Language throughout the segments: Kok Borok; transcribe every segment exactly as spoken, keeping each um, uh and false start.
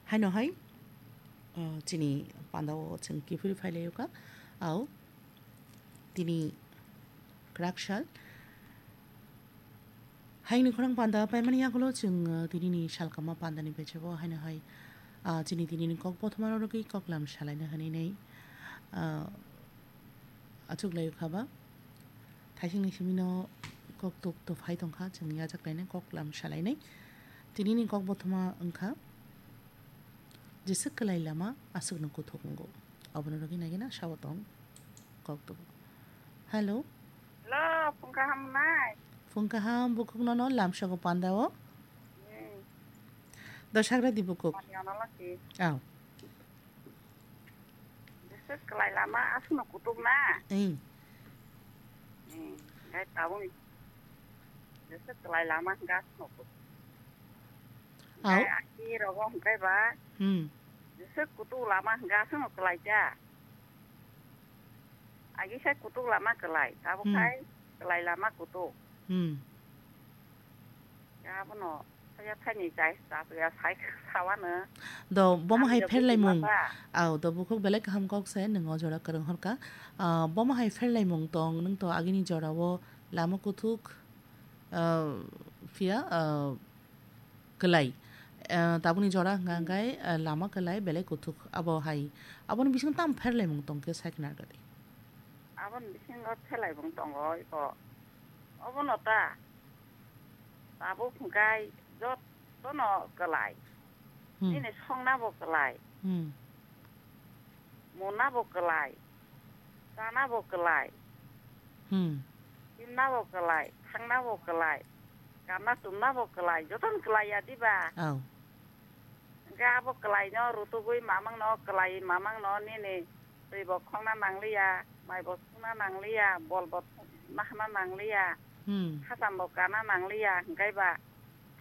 Haino hai, ah, chini pandao chwng kiphilwi phailaio kha. Au, tini kwrak sal. Haini khorang panda paimani yagulo chwng, ah, tinini salkama pandani bechebo haino hai, ah, chini tinini kok bothoma rwgwi koklam salaina hwnwi nei, ah, achuklaio kha ba. Thaisingni simino kok tok to phai tongkha, chwng yachaklainai koklam salainai. Tinini kok bothoma wngkha, Jeswk kwlai lama aswkno kuthuk wngo. Obono rwgwi naigwina sabo tong kok tubu. Hello. Hello, phung kaham nai? Phung kaham, bukhuk nono lamsogo pandao. Hmm. Dosagra di bukhuk. Mani ono laki. Aw. Jeswk kwlai lama aswkno kuthuk na? Ei. Hmm, gai tabung. Jeswk kwlai lama hwnkhe aswkno kuthuk. Aw. Hwnkhe aki rogo hwnkhe ba, Hmm. Jeswk kutuk lama hwnkhe aswkno kwlai ta. Agi sai kutuk lama kwlai, tabuk Hmm. Sai kwlai lama kutuk. Hmm. Abono saya thaini chai chapya sai sawano. Do bomo hai Hamya pherlaimung. Buji masa. Aw, do bukhuk belai kaham kok se, nwng o jora kwrwng horka. Ah, bomo hai pherlaimung tong, nwng to agini jorao lama kuthuk, ah, phiya, ah, kwlai. Ah, tabukni jora hwnkha Hmm. Hwnkhe, ah, lama kwlai belai kuthuk abo hai. Aboni bisingo tamo pherlaimung tongkhe sai khna rwdi. Aboni bisingo pherlaimung tongo iko. Obono ta. Tabuk hwnkhe jotono kwlai. Hmm. Nini songnabo kwlai. Hmm. Munabo kwlai, chanabo kwlai, Hmm. Himnabo kwlai, thangnabo kwlai, kanna tumnabo kwlai, jotono kwlai ya diba? Aw. Hwnkhe abo kwlaino rutugwi mamangno, kwlai mamangno nini twi bo khokna nangliya, mai bo sungna nangliya, bol bo nahna nangliya, Hmm. Hacham bo kana nangliya, hwnkhe ba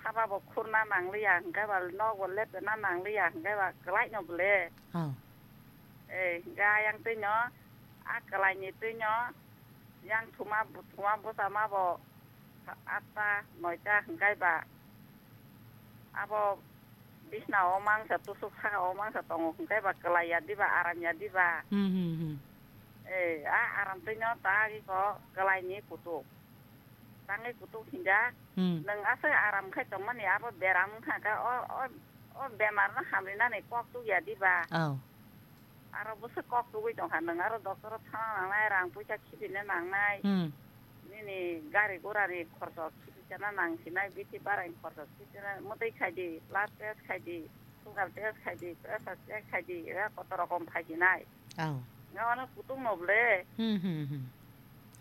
Saba bo khurna nangliya, hwnkhe ba nok bo lepna nangliya, hwnkhe ba kwlaino bole. Oh. Eh, hwnkhe ayang twino, a kwlaini twino, yang thuma, thuma bwsama bo atta, noita hwnkhe ba abo bisna o mangsa, tusuk saka o mangsa tongo, hwnkhe ba kwlai ya diba, aram ya diba? Hmm, hmm, hmm. Eh, a aram twino ta iko kwlaini kutuk. Tangwi kutuk hinjak. Hmm. Nwng aswk aram khai tongmani abo beram wngkha khe o, o, o bemar no hamrinani kok tukya diba? Oh. Aro bwswk kok tugwi tongkha, nwng aro doctor o thangna nangnai, rang puisa khibina nangnai. Hmm. Nini gari gura ni khorcho khibisana nangsinai, bithi bara ni khorcho khibisana, mwtwi khaidi, blood test khaidi, sugar test khaidi, pressure check khaidi, ega koto rokom phaisinai. Oh. Nga ano kutung no ble. Hmm, hmm, hmm.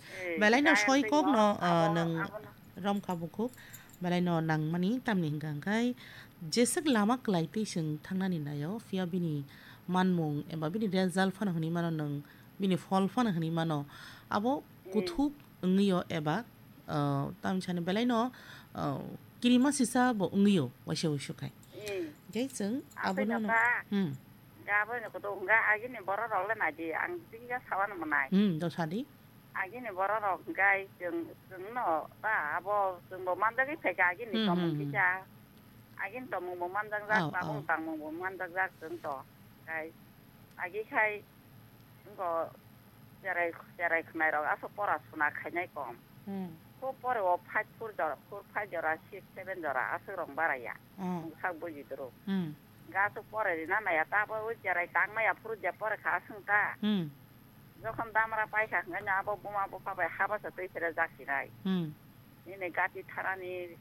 Eh, belai no kaya soi tei kok no, no, ah, abono, nang abono. Rom kha bukhuk. Belai no nang mani tamni hingka hingkai jeswk lama kwlai twi chwng thangnani naio, phiya bini manmung eba bini result phano hwnwi mano nwng, bini phol phano hwnwi mano. Abo Hmm. Kuthuk wngwi o eba, ah, tamni sani belai no, ah, kirima sisa bo wngwi o waisa waisa khai. Hmm. Hingke chwng Asai abono no, jata. Hmm. Ga abo ni kutung ga agini borok rok le nai di, ang twi ga sawan manai. Hmm, do sadi. Agini borok rok hingkai chwng, chwng no ta abo chwng bo manjagwi phaikha agini Hmm, tomung hmm, hmm. Kisa. Agini tomung bo manjak jak, Oh, tabung oh. Tangmung bo manjak jak chwng to. Kai agi khai wngko cherai, cherai khwnai rok aswk pora suna khainai kom. Hmm. Kho pore o five four jora, four five jora, six seven jora aswk rong baraya. Hmm. Sak buji duru. Hmm. Ga aswk pore rina naya ta abo wi cherai tang maya phuru je pore kha aswng ta. Hmm. Jokhon damra paikha hwnkhe no abo buma bupha bai habasa twi phera jak sinai. Hmm. Nini gati tharani,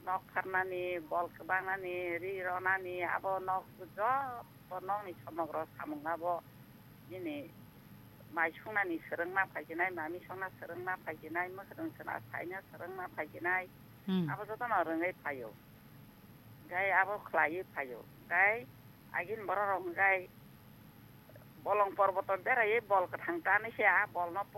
nok tharnani, bol kwbangnani, ri ronani, abo nok joto nokni somogro samung abo nini mai sungnani swrwngna phaijinai, mami songna swrwngna phaijinai, mwkhwtwng sona saina swrwngna phaijinai, Hmm. Abo jotono rwngwi phaio. Gai abo khlaiwi phaio. Gai agini borok rok hwnkhe bolong porboto beraiwi bol kwthang tanwi se a bolno